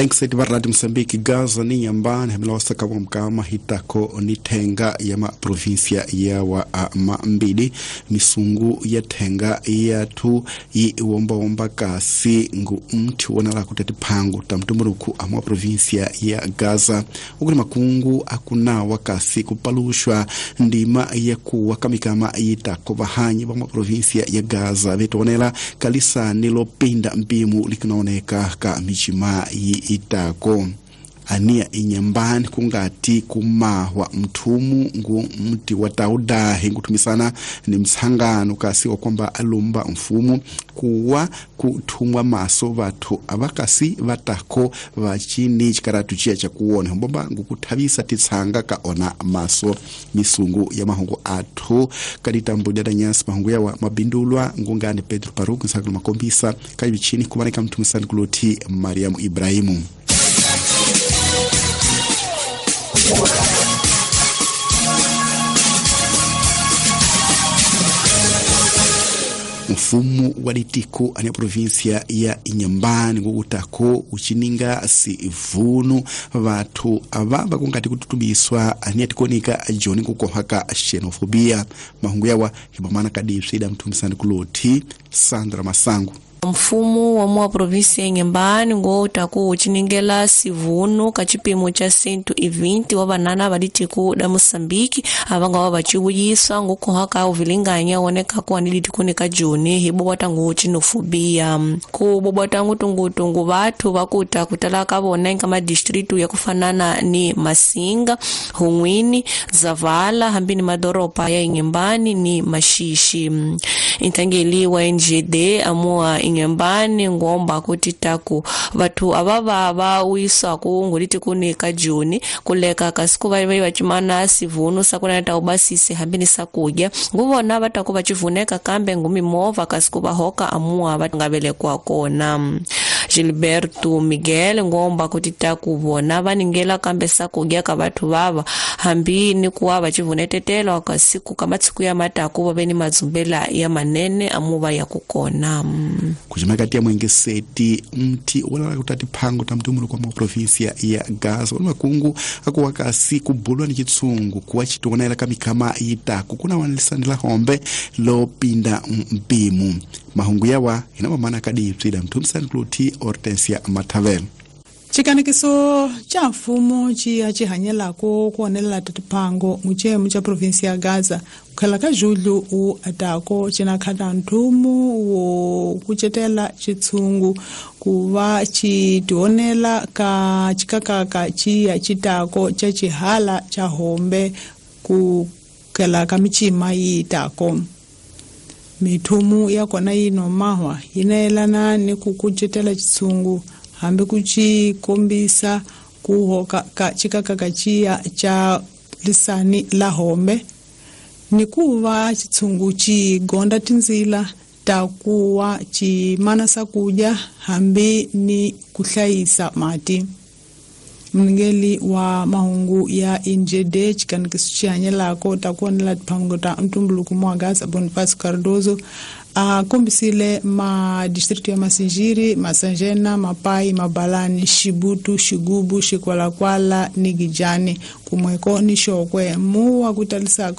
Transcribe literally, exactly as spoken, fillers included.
Thanks eti va Radio Mozambique Gaza ni Nyambani hemela wasaka wa mkama hitako ni tenga ya ma provincia ya wa mambili misungu ya tenga ya tu i womba womba kasi ngu mti wonala kutati pangu tamtumburuku amwa provincia ya Gaza ukuli makungu akuna wakasi kupalushwa ndima ya kuwa kamikama yitako vahanyi va mwa provincia ya Gaza vetonela kalisa nilopinda mpimu likinaoneka ka michima itako ania inyambani kungati kumahwa mthumu ngu mti wa taudahi nkuthumisana ni mtsangano kasi wa kwamba alumba mfumo kuwa kuthumwa maso vathu avakasi vatako vachini chikaratu chiya chakuona hombomba ngukuthavisa titsanga ka ona maso misungu ya mahungu athu kaditambo dya nyasi mahungu yawa mabindulwa ngungani Pedro Paruku nsakulu makombisa kayivichini kumaneka mthumisani kuloti Mariamu Ibrahimu. Mfumo wa litiko ania provincia ya Inhambane ngukutako uchininga sivunu vathu ava vakungati kututubiswa ania tikonika joni kukohaka xenofobia mahungu yawa hibamana kadipsida mthumisani kuloti Sandra Masangu. Mfumo wa mwa provinsia ya Inhambane ngutaku uchiningela sivunu ka chipimo cha sentu e vinte wa banana balitiku da Moçambique avanga wa bachibuyiswa ngukuhaka uvilinganya woneka kuwa nilitikunika joni hibobwata ngu xenofobia ku bobwata ngutungutungu bathu bakuta kutala ka vona eka madistritu ya kufanana ni Masinga, Hunwini, Zavala hambi ni madoropa ya Inhambane ni Maxixe. Intangeli wa N G D amua Inhambane ngomba kuti taku vathu avava va wiswa ku nguliti kunika joni kuleka kasi ku va va chimana sivunu sakuna ta ubasise hambi ni sakudya nguvona vataku va chivuneka kambe ngumimova kasi ku va hoka amua va nga velekwa kona. Gilberto Miguel ngomba kuti taku vona va ningela kambe sakudya ka vathu vava hambi ni kuwa va chivunetetela kasi ku ka matsiku ya mataku va ve ni madzumbela ya manene amuva ya kukona. Kujimakati ya mwengeseti mti wala kutati pango tamtumulu kwa provincia ya Gaza wala makungu akuwakasi kubulwa ni chitsungu kuwa chituonela kamikama itaku kuna wanalisanila hombe lopinda mpimu mahungu yawa inamamana kadipsida mtumisani kluti Hortensia Matavel. Chikanikiso cha mfumo chiya chihanyelako kuonelela tatipango muchemu cha provinsia ya Gaza kukhela ka julho u atako chinakhata nthumu wo kucetela chitsungu kuva chitionela ka chikakaka chiya chitako cha chihala cha hombe kukhela ka michima yitako. Mithumu ya kona yino mahwa yinayelana ni kukucetela chitsungu hambi kuchikombisa kuhoka ka chikakaka chiya cha lisani la hombe ni kuva chitsungu chigonda tinzila ta kuwa chimana sakudya hambi ni kuhlayisa mati. Mngeli wa mahungu ya N G D chikanikiso chihanyelako ta kuonela tiphango ta ntumbuluko mwa Gaza Bonifacio Cardoso akombisile ma distrito ya Masinjiri, Masanjena, Mapai, Mabalani, Xibutu, Xigubu, Xikwalakwala ni Gijani kumweko ni Xokwe muwa kutalisako